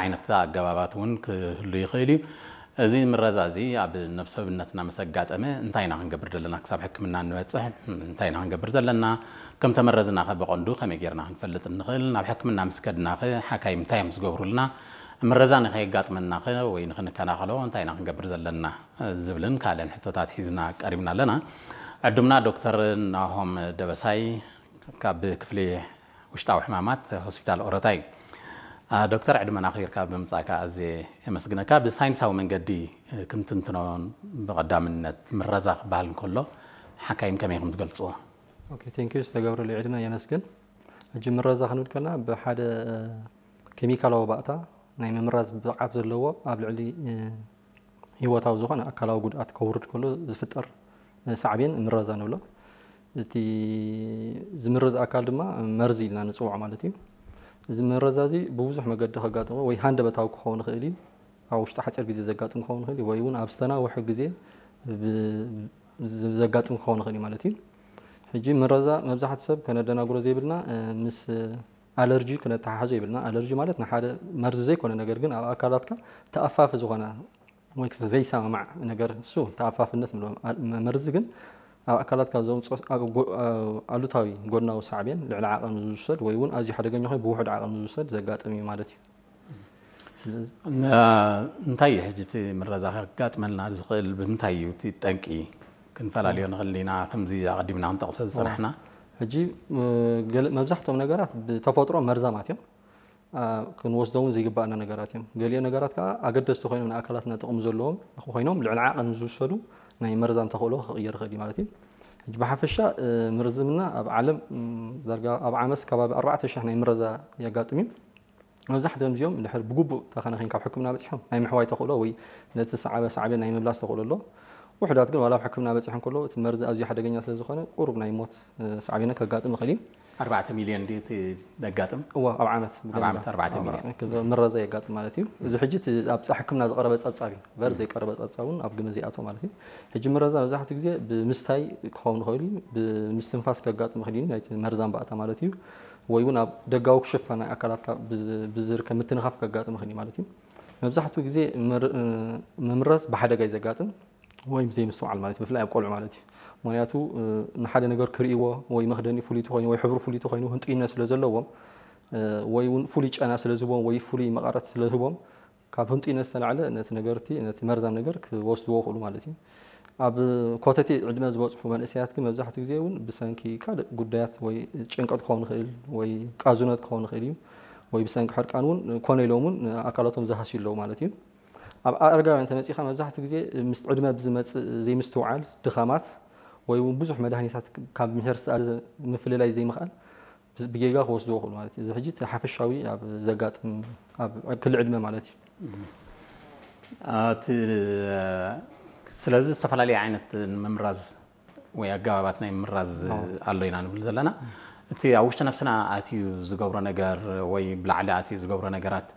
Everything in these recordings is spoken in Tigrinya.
ዓይነት ኣገባባት እውን ክህሉ ይኽእል እዩ። እዚ ምረዛ እዚ ኣብ ነፍሰብነትና ምስ ኣጋጠመ እንታይ ኢና ክንገብር ዘለና? ክሳብ ሕክምና እንበፅሕ እንታይ ኢና ክንገብር ዘለና? ከም ተመረዝና ከ ብቐንዱ ከመይ ጌርና ክንፈልጥ ንኽእል? ናብ ሕክምና ምስ ከድና ከ ሓካይም እንታይ እዮም ዝገብሩልና? ምረዛ ንኸየጋጥመና ከ ወይ ንኽንከላኸሎ እንታይ ኢና ክንገብር ዘለና? ዝብልን ካልእን ሕቶታት ሒዝና ቀሪብና ኣለና። ዕዱምና ዶክተር ናሆም ደበሳይ ካብ ክፍሊ ውሽጣዊ ሕማማት ሆስፒታል ኦረታ እዩ። ዶክተር፣ ዕድመና ኣኽቢርካ ብምምጻእካ ኣዝየ የመስግነካ። ብሳይንሳዊ መንገዲ ክንትንትኖ፣ ብቐዳምነት ምረዛ ክበሃል እንከሎ ሓካይም ከመይ ኢኹም ትገልጽዎ? ኦኬ፣ ቴንክ ዩ ዝተገብረሉ ዕድመ የመስግን። ሕጂ ምረዛ ክንብል ከለና ብሓደ ኬሚካላዊ ባእታ ናይ ምምራዝ ብቕዓት ዘለዎ ኣብ ልዕሊ ህይወታዊ ዝኾነ ኣካላዊ ጉድኣት ከውርድ ከሎ ዝፍጠር ሳዕቤን ምረዛ ንብሎ። እቲ ዝምረዝ ኣካል ድማ መርዚ ኢልና ንፅውዖ ማለት እዩ። እዚ ምረዛ እዚ ብብዙሕ መገዲ ከጋጥሞ ወይ ሃንደበታዊ ክኸውን ይኽእል እዩ፣ ኣብ ውሽጢ ሓፂር ግዜ ዘጋጥም ክኸውን ይኽእል እዩ፣ ወይ እውን ኣብ ዝተናውሐ ግዜ ብ- ብ- ዘጋጥም ክኸውን ይኽእል እዩ ማለት እዩ። ሕጂ ምረዛ መብዛሕትኡ ሰብ ከነደናግሮ ዘይብልና ምስ ኣለርጂ ክነተሓሕዞ የብልና። ኣለርጂ ማለት ንሓደ መርዚ ዘይኮነ ነገር ግን ኣብ ኣካላትካ ተኣፋፊ ዝኾነ ወይ ዘይሰማማዕ ነገር፣ እሱ ተኣፋፍነት ንብሎ። መርዚ ግን ኣብ ኣካላትካ ዘምፅኦ ኣሉታዊ ጎድናዊ ሳዕቤን ልዕሊ ዓቐን ዝውሰድ ወይ እውን ኣዝዩ ሓደገኛ ኮይኑ ብውሑድ ዓቐን ዝውሰድ ዘጋጥም እዩ ማለት እዩ። ስለዚ እንታይ እዩ ሕጂ እቲ ምረዛ ከጋጥመልና ዝኽእል? ብምንታይ እዩ እቲ ጠንቂ? ክንፈላለዮ ንኽእል ኢና፣ ከምዚ ኣቐዲምና ክንጠቕሶ ዝፀናሕና። ሕጂ መብዛሕትኦም ነገራት ብተፈጥሮ መርዛማት እዮም። ክንወስዶ እውን ዘይግባኣና ነገራት እዮም። ገሊኦ ነገራት ከዓ ኣገደስቲ ኮይኖም ንኣካላትና ጥቕሚ ዘለዎም ኮይኖም ልዕሊ ዓቐን ዝውሰዱ ናይ መርዛም ተኽእሎ ክቕየር ይኽእል እዩ ማለት እዩ። ሕጂ ብሓፈሻ ምርዝምና ኣብ ዓለም ዳርጋ ኣብ ዓመት ከባቢ ኣርባዕተ ሽሕ ናይ ምረዛ የጋጥም እዩ። መብዛሕትኦም እዚኦም ድሕር ብግቡእ ተኸናኺን ካብ ሕክምና በፂሖም ናይ ምሕዋይ ተኽእሎ ወይ ነቲ ዝሰዓበ ሳዕቤን ናይ ምምላስ ተኽእሎ ኣሎ። ውሑዳት ግን ዋላ ኣብ ሕክምና በፂሖም ከለዉ እቲ መርዚ ኣዝዩ ሓደገኛ ስለ ዝኾነ ቁሩብ ናይ ሞት ሳዕቤነ ከጋጥም ይኽእል እዩ። ኣርባዕተ ሚልዮን ድዩ እቲ ዘጋጥም? እወ ኣብ ዓመት ኣብ ዓመት ኣርባዕተ ሚልዮን ምረዛ የጋጥም ማለት እዩ። እዚ ሕጂ እቲ ኣብ ሕክምና ዝቐረበ ፀብፃብ እዩ። በር ዘይቀረበ ፀብፃብ እውን ኣብ ግምት ዘይኣትዎ ማለት እዩ። ሕጂ ምረዛ መብዛሕትኡ ግዜ ብምስታይ ክኸውን ይኽእል እዩ፣ ብምስትንፋስ ከጋጥም ይኽእል እዩ ናይቲ መርዛም ባእታ ማለት እዩ። ወይ እውን ኣብ ደጋዊ ክሽፋ ናይ ኣካላትካ ብዝርከብ ምትንኻፍ ከጋጥም ይኽእል እዩ ማለት እዩ። መብዛሕትኡ ግዜ ምምራዝ ብሓደጋ እዩ ዘጋጥም ወይ ብዘይምስትውዓል ማለት እዩ፣ ብፍላይ ኣብ ቆልዑ ማለት እዩ። ምክንያቱ ንሓደ ነገር ክርእይዎ ወይ መኽደኒ ፍሉይ ተኮይኑ ወይ ሕብሩ ፍሉይ ተኮይኑ ህንጡይነት ስለ ዘለዎም ወይ እውን ፍሉይ ጨና ስለ ዝህቦም ወይ ፍሉይ መቐረት ስለ ዝህቦም ካብ ህንጡይነት ዝተላዕለ ነቲ ነገርቲ ነቲ መርዛም ነገር ክወስድዎ ይኽእሉ ማለት እዩ። ኣብ ኮተቴ ዕድመ ዝበፅሑ መንእሰያት ግን መብዛሕትኡ ግዜ እውን ብሰንኪ ካልእ ጉዳያት ወይ ጭንቀት ክኸውን ይኽእል ወይ ቃዙነት ክኸውን ይኽእል እዩ ወይ ብሰንኪ ሕርቃን እውን ኮነ ኢሎም እውን ኣካላቶም ዝሃስዩ ኣለዉ ማለት እዩ። ኣብ ኣረጋውያን ተመፂኻ መብዛሕትኡ ግዜ ምስ ዕድመ ብዝመፅእ ዘይምስትውዓል፣ ድኻማት ወይ እውን ብዙሕ መድሃኒታት ካብ ምሒር ዝተኣዘዘ ምፍልላይ ዘይምኽኣል ብጌጋ ክወስድዎ ይኽእሉ ማለት እዩ። እዚ ሕጂ እቲ ሓፈሻዊ ኣብ ዘጋጥም ኣብ ክሊ ዕድመ ማለት እዩ። እቲ ስለዚ ዝተፈላለየ ዓይነት ምምራዝ ወይ ኣገባባት ናይ ምምራዝ ኣሎ ኢና ንብል ዘለና። እቲ ኣብ ውሽጢ ነፍስና ኣትዩ ዝገብሮ ነገር ወይ ብላዕሊ ኣትዩ ዝገብሮ ነገራት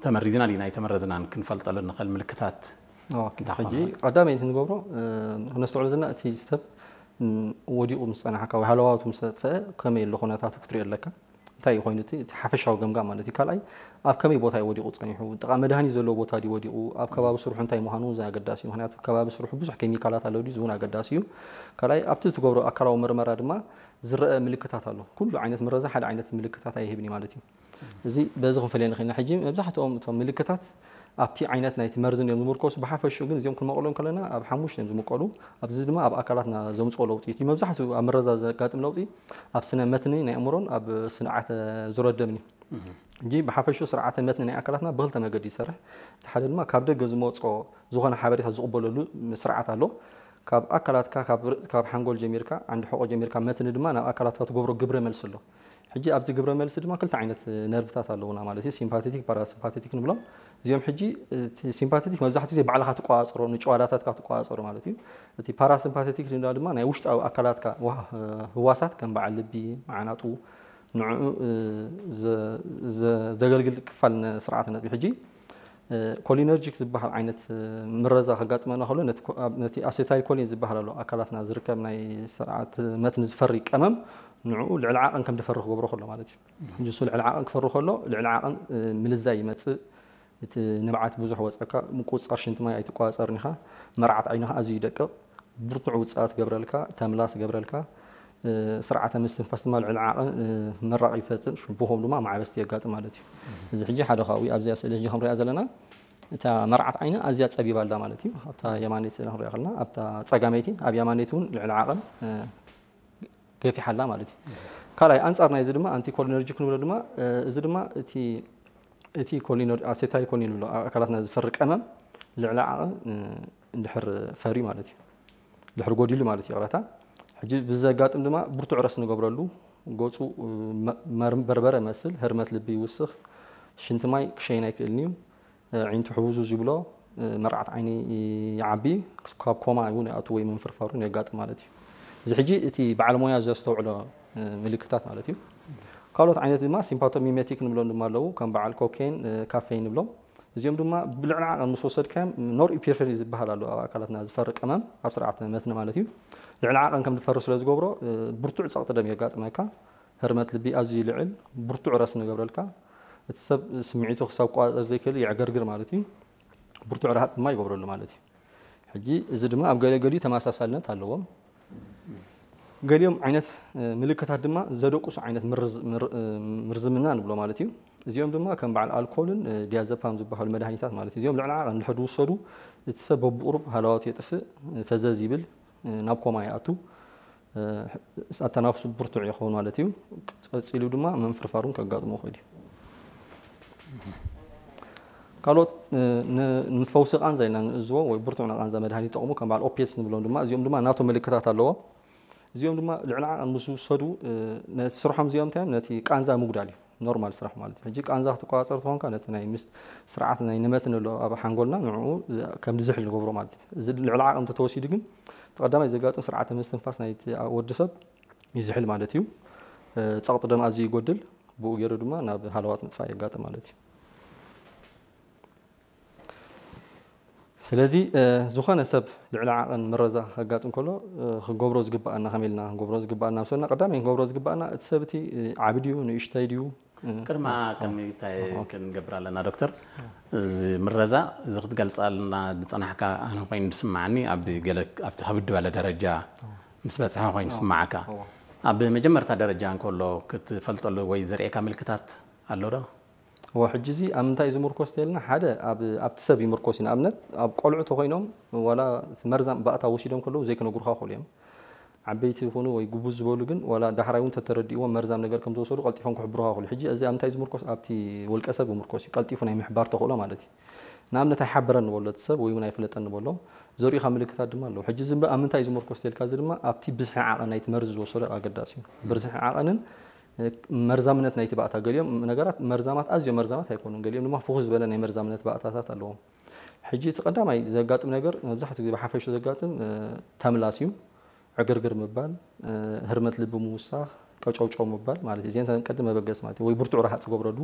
ተመሪዝና ድና ኣይተመረዝናን ክንፈልጠሉ ንኽእል ምልክታት ሕጂ ቀዳመይቲ ንገብሮ ክነስተውዕሎ ዘለና እቲ ሰብ ወዲቑ ምስ ጸናሓካ ወይ ሃለዋቱ ምስ ጠፍአ ከመይ ኣሎ ኩነታቱ ክትሪኦ ኣለካ። እንታይ እዩ ኮይኑ እቲ ሓፈሻዊ ገምጋም ማለት እዩ። ካልኣይ ኣብ ከመይ ቦታ እዩ ወዲቑ ጸኒሑ፣ ጥቓ መድሃኒት ዘለዎ ቦታ ድዩ ወዲቑ፣ ኣብ ከባቢ ስርሑ እንታይ ምዃኑ እውን ኣገዳሲ እዩ። ምክንያቱ ከባቢ ስርሑ ብዙሕ ኬሚካላት ኣለዉ ድዩ፣ እዚ እውን ኣገዳሲ እዩ። ካልኣይ ኣብቲ ትገብሮ ኣካላዊ መርመራ ድማ ዝረአ ምልክታት ኣሎ። ኩሉ ዓይነት ምረዛ ሓደ ዓይነት ምልክታት ኣይህብን እዩ ማለት እዩ። እዚ በዚ ክንፈልዮ ንኽእል ኢና። ሕጂ መብዛሕትኦም እቶም ምልክታት ኣብቲ ዓይነት ናይቲ መርዚ እዮም ዝምርኮሱ። ብሓፈሽኡ ግን እዚኦም ክንመቕሎም ከለና ኣብ ሓሙሽተ እዮም ዝምቀሉ። ኣብዚ ድማ ኣብ ኣካላትና ዘምፅኦ ለውጢ እዩ። መብዛሕትኡ ኣብ ምረዛ ዘጋጥም ለውጢ ኣብ ስነ መትኒ ናይ ኣእምሮን ኣብ ስርዓተ ዙረት ደምን እዩ። ሕጂ ብሓፈሽኡ ስርዓተ መትኒ ናይ ኣካላትና ብክልተ መገዲ ይሰርሕ። እቲ ሓደ ድማ ካብ ደገ ዝመፅኦ ዝኾነ ሓበሬታ ዝቕበለሉ ስርዓት ኣሎ። ካብ ኣካላትካ ካብ ሓንጎል ጀሚርካ ዓንዲ ሕቆ ጀሚርካ መትኒ ድማ ናብ ኣካላትካ ትገብሮ ግብረ መልሲ ኣሎ። ሕጂ ኣብዚ ግብረ መልሲ ድማ ክልተ ዓይነት ነርቭታት ኣለውና ማለት እዩ፣ ሲምፓቴቲክ ፓራሲምፓቴቲክ ንብሎም። እዚኦም ሕጂ ሲምፓቴቲክ መብዛሕትኡ ግዜ ባዕልኻ ትቆፃፀሮ ንጭዋዳታትካ ትቆፃፀሮ ማለት እዩ። እቲ ፓራሲምፓቴቲክ ድማ ናይ ውሽጣዊ ኣካላትካ ህዋሳት ከም በዓል ልቢ፣ መዓናጡ ንዕኡ ዘገልግል ክፋል ስርዓተ ነጥቢ። ሕጂ ኮሊነርጂክ ዝበሃል ዓይነት ምረዛ ከጋጥመና ከሎ ነቲ ኣሴታይል ኮሊን ዝበሃል ኣሎ ኣካላትና ዝርከብ ናይ ስርዓት መትኒ ዝፈሪ ቀመም ንዕኡ ልዕሊ ዓቐን ከም ድፈሪ ክገብሮ ከሎ ማለት እዩ። ሕጂ እሱ ልዕሊ ዓቐን ክፈሪ ከሎ ልዕሊ ዓቐን ምልዛይ ይመፅእ። እቲ ንብዓት ብዙሕ ወፀካ፣ ምቁፅፃር ሽንቲ ማይ ኣይትቋፀርን ኢኻ። መርዓት ዓይንኻ ኣዝዩ ይደቅቕ። ብርቱዕ ውፅኣት ገብረልካ፣ ተምላስ ገብረልካ። ስርዓተ ምስትንፋስ ድማ ልዕሊ ዓቐን መራቕ ይፈፅም፣ ሽቡኾም ድማ ማዕበስቲ የጋጥም ማለት እዩ። እዚ ሕጂ ሓደ ካብኡ ኣብዚኣ ስእሊ ሕጂ ክንሪኣ ዘለና እታ መርዓት ዓይኒ ኣዝያ ፀቢባ ኣላ ማለት እዩ። ኣብታ የማነይቲ ስእሊ ክንሪኣ ከለና ኣብታ ፀጋመይቲ ኣብ የማነይቲ እውን ልዕሊ ዓቐን ገፊሓ ኣላ ማለት እዩ። ካልኣይ ኣንፃር ናይዚ ድማ ኣንቲኮሊነርጂክ ንብሎ ድማ እዚ ድማ እቲ እቲ ኮሊኖ ኣሴታይል ኮሊን ንብሎ ኣብ ኣካላትና ዝፈሪ ቀመም ልዕሊ ዓቐን እንድሕር ፈርዩ ማለት እዩ። ድሕሪ ጎዲሉ ማለት እዩ ይቕረታ። ሕጂ ብዘጋጥም ድማ ብርቱዕ ረስ ንገብረሉ፣ ገፁ በርበረ መስል፣ ህርመት ልቢ ይውስኽ፣ ሽንቲ ማይ ክሸይን ኣይክእልን እዩ። ዒንቱ ሕውዙዝ ይብሎ፣ መርዓት ዓይኒ ይዓቢ፣ ካብ ኮማ እውን ይኣቱ ወይ ምንፍርፋር እውን የጋጥም ማለት እዩ። እዚ ሕጂ እቲ በዓል ሞያ ዘስተውዕሎ ምልክታት ማለት እዩ። ካልኦት ዓይነት ድማ ሲምፓቶሚሜቲክ ንብሎም ድማ ኣለዉ፣ ከም በዓል ኮኬን፣ ካፌን ንብሎም። እዚኦም ድማ ብልዕሊ ዓቐን ምስ ወሰድካዮም ኖር ኢፒፍሪን ዝበሃል ኣሎ ኣብ ኣካላትና ዝፈሪ ቀመም ኣብ ስርዓተ መትኒ ማለት እዩ። ልዕሊ ዓቐን ከም ዝፈሪ ስለ ዝገብሮ ብርቱዕ ጸቕጢ ደም የጋጥመካ፣ ህርመት ልቢ ኣዝዩ ይልዕል፣ ብርቱዕ ረስኒ ይገብረልካ፣ እቲ ሰብ ስምዒቱ ክሳብ ክቆጻጸር ዘይክእል የዕገርግር ማለት እዩ። ብርቱዕ ረሃጽ ድማ ይገብረሉ ማለት እዩ። ሕጂ እዚ ድማ ኣብ ገለ ገሊኡ ተመሳሳልነት ኣለዎም። ገሊኦም ዓይነት ምልክታት ድማ ዘደቁሱ ዓይነት ምርዝምና ንብሎ ማለት እዩ። እዚኦም ድማ ከም በዓል ኣልኮልን ዲያዘፓም ዝበሃሉ መድሃኒታት ማለት እዩ። እዚኦም ልዕሊ ዓቐን እንድሕር ዝውሰዱ እቲ ሰብ በብቁሩብ ሃለዋቱ የጥፍእ፣ ፈዘዝ ይብል፣ ናብ ኮማ ይኣቱ፣ ኣተናፍሱ ብርቱዕ ይኸውን ማለት እዩ። ቀፂሉ ድማ ምንፍርፋር እውን ከጋጥሞ ይኽእል እዩ። ካልኦት ንፈውሲ ቃንዛ ኢልና ንእዝዎ ወይ ብርቱዕ ንቃንዛ መድሃኒት ይጠቕሙ ከም በዓል ኦፒየትስ ንብሎም ድማ እዚኦም ድማ ናቶም ምልክታት ኣለዎም። እዚኦም ድማ ልዕሊ ዓቐን ምስ ዝውሰዱ ነቲ ስርሖም እዚኦም እንታይ እዮም? ነቲ ቃንዛ ምጉዳል እዩ። ኖርማል ስራሕ ማለት እዩ። ሕጂ ቃንዛ ክትቆፃፀር ተኾንካ ነቲ ናይ ምስ ስርዓት ናይ ንመት ንሎ ኣብ ሓንጎልና ንዕኡ ከም ዝሕል ንገብሮ ማለት እዩ። እዚ ልዕሊ ዓቐን እንተተወሲዱ ግን እቲ ቀዳማይ ዘጋጥም ስርዓተ ምስትንፋስ ናይቲ ወዲ ሰብ ይዝሕል ማለት እዩ። ጸቕጢ ደም ኣዝዩ ይጎድል፣ ብኡ ገይሩ ድማ ናብ ሃለዋት ምጥፋእ የጋጥም ማለት እዩ። ስለዚ ዝኾነ ሰብ ልዕሊ ዓቐን ምረዛ ከጋጥም ከሎ ክገብሮ ዝግብኣና ከመይ ኢልና ክንገብሮ ዝግብኣና ምስ በልና ቀዳማይ ክንገብሮ ዝግብኣና እቲ ሰብ እቲ ዓቢ ድዩ ንእሽተይ ድዩ ቅድማ ከመይታይ ክንገብር ኣለና ዶክተር? እዚ ምረዛ እዚ ክትገልፃልና ዝፀናሕካ ኣነ ኮይኑ ዝስማዓኒ ኣብ ገለ ኣብቲ ከብድ ዝበለ ደረጃ ምስ በፅሐ ኮይኑ ዝስማዓካ ኣብ መጀመርታ ደረጃ እንከሎ ክትፈልጠሉ ወይ ዘርእየካ ምልክታት ኣሎ ዶ? እወ ሕጂ እዚ ኣብ ምንታይ እዩ ዝምርኮስ ተልና ሓደ ኣብቲ ሰብ ይምርኮስ እዩ። ንኣብነት ኣብ ቆልዑ ተኮይኖም ዋላ መርዛም ባእታ ወሲዶም ከለዉ ዘይክነግሩካ ክእሉ እዮም። ዓበይቲ ይኹኑ ወይ ጉቡዝ ዝበሉ ግን ዋላ ዳሕራይ እውን ተተረዲእዎም መርዛም ነገር ከም ዝወሰዱ ቀልጢፎም ክሕብሩኻ ይኽእሉ። ሕጂ እዚ ኣብ እንታይ ዝምርኮስ ኣብቲ ውልቀ ሰብ ይምርኮስ እዩ። ቀልጢፉ ናይ ምሕባር ተኽእሎ ማለት እዩ። ንኣብነት ኣይሓበረን ንበሎ እቲ ሰብ ወይ እውን ኣይፍለጠን ንበሎ። ዘርእኻ ምልክታት ድማ ኣለዉ። ሕጂ እዚ እምበ ኣብ ምንታይ እዩ ዝምርኮስ ተልካ እዚ ድማ ኣብቲ ብዝሒ ዓቐን ናይቲ መርዚ ዝወሰዶ ኣገዳሲ እዩ። ብዝሒ ዓቐንን መርዛምነት ናይቲ ባእታ ገሊኦም ነገራት መርዛማት ኣዝዮም መርዛማት ኣይኮኑን። ገሊኦም ድማ ፍኹስ ዝበለ ናይ መርዛምነት ባእታታት ኣለዎም። ሕጂ እቲ ቀዳማይ ዘጋጥም ነገር መብዛሕትኡ ግዜ ብሓፈሽኡ ዘጋጥም ተምላስ እዩ። ዕግርግር ምባል፣ ህርመት ልቢ ምውሳኽ፣ ቀጨውጨው ምባል ማለት እዩ። እዚአን ቀንዲ መበገሲ ማለት እዩ። ወይ ብርቱዕ ረሃፅ ገብረሉ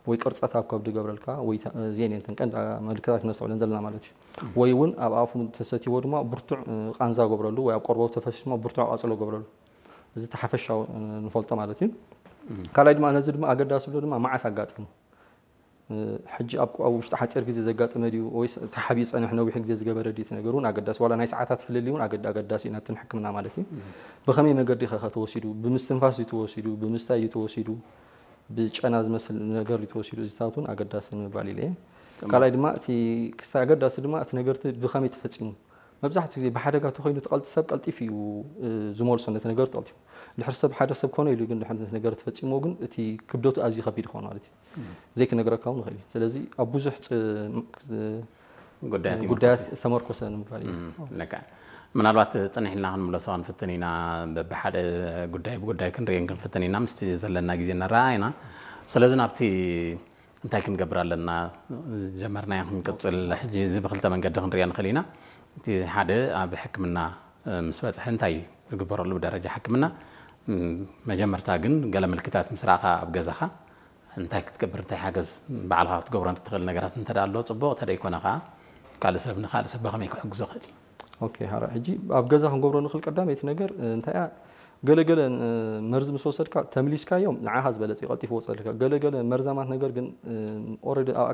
ወይ ቅርፀት ኣብ ከብዲ ገብረልካ ወይ እዚአን እየን ቀንዲ ምልክታት ክነስተውዕለን ዘለና ማለት እዩ። ወይ እውን ኣብ ኣፉ ተሰትይዎ ድማ ብርቱዕ ቃንዛ ገብረሉ ወይ ኣብ ቆርበቱ ተፈሲሱ ድማ ብርቱዕ ቃፅሎ ገብረሉ። እዚ ተሓፈሻዊ ንፈልጦ ማለት እዩ። ካልኣይ ድማ ነዚ ድማ ኣገዳሲ ብሎ ድማ መዓስ ኣጋጢሙ ሕጂ ኣብ ኣብ ውሽጢ ሓፂር ግዜ ዘጋጠመ ድዩ ወይስ ተሓቢኡ ዝፀንሕ ነዊሕ ግዜ ዝገበረ ድዩ እቲ ነገር እውን ኣገዳሲ ዋላ ናይ ሰዓታት ፍልልይ እውን ኣገድ- ኣገዳሲ እዩ ናብቲ ንሕክምና ማለት እዩ። ብኸመይ መገዲ ከ ከተወሲዱ ብምስትንፋስ ድዩ ተወሲዱ ብምስታይ ድዩ ተወሲዱ ብጨና ዝመስል ነገር ድዩ ተወሲዱ እዚታት እውን ኣገዳሲ ንምባል ኢለ እየ። ካልኣይ ድማ እቲ ክስታይ ኣገዳሲ ድማ እቲ ነገርቲ ብኸመይ ተፈፂሙ መብዛሕትኡ ግዜ ብሓደጋ ተኾይኑ እቲ ቀልጢ ሰብ ቀልጢፉ እዩ ዝመልሶ ነቲ ነገር ቀልጢፉ ድሕር ሰብ ሓደ ሰብ ኮነ ኢሉ ግን ድሕር ነቲ ነገር ተፈፂምዎ ግን እቲ ክብደቱ ኣዝዩ ከቢድ ይኸውን ማለት እዩ ዘይክነግረካ እውን ይኽእል እዩ ስለዚ ኣብ ብዙሕ ጉዳያት ዝተመርኮሰ ንምባል እዩ ምናልባት ፅንሕ ኢልና ክንምለሶ ክንፍትን ኢና በብሓደ ጉዳይ ብጉዳይ ክንርእየን ክንፍትን ኢና ምስቲ ዘለና ግዜ ንረኣ ኢና ስለዚ ናብቲ እንታይ ክንገብር ኣለና ጀመርናዮ ክንቅፅል ሕጂ እዚ ብክልተ መንገዲ ክንሪኦ ንኽእል ኢና እቲ ሓደ ኣብ ሕክምና ምስ በፅሐ እንታይ ዝግበረሉ ብደረጃ ሕክምና መጀመርታ ግን ገለ ምልክታት ምስ ረኣኻ ኣብ ገዛኻ እንታይ ክትገብር እንታይ ሓገዝ ባዕልኻ ክትገብሮ ትኽእል ነገራት እንተ ኣሎ ፅቡቕ እንተ ደይኮነ ከዓ ካልእ ሰብ ንካልእ ሰብ ብኸመይ ክሕግዞ ክእል እዩ ኦኬ ሕጂ ኣብ ገዛ ክንገብሮ ንኽእል ቀዳመይቲ ነገር እንታይ እያ ገለገለ መርዚ ምስ ወሰድካ ተምሊስካዮም ንዓኻ ዝበለጸ ቀልጢፉ ወጸልካ። ገለገለ መርዛማት ነገር ግን ኦረዲ ኣብ